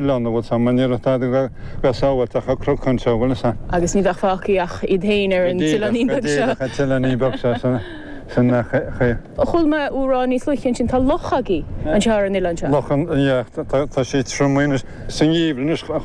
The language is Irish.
Oileán, an bhfuil 's a'm, ní raibh tada go sábháilte ach an cnoc anseo, bhfuil 'fhios a'm. Agus ní bheadh fágtha ach iad féin ar an t-oileáinín beag seo. Go díreach, an t-oileáinín beag seo san chaoi. Chuala mé thú a rá níos luaithe ansin, tá loch agaibh anseo ar an oileán seo. Loch, yeah, tá sí triomaithe anois. Sa ngeimhreadh anois.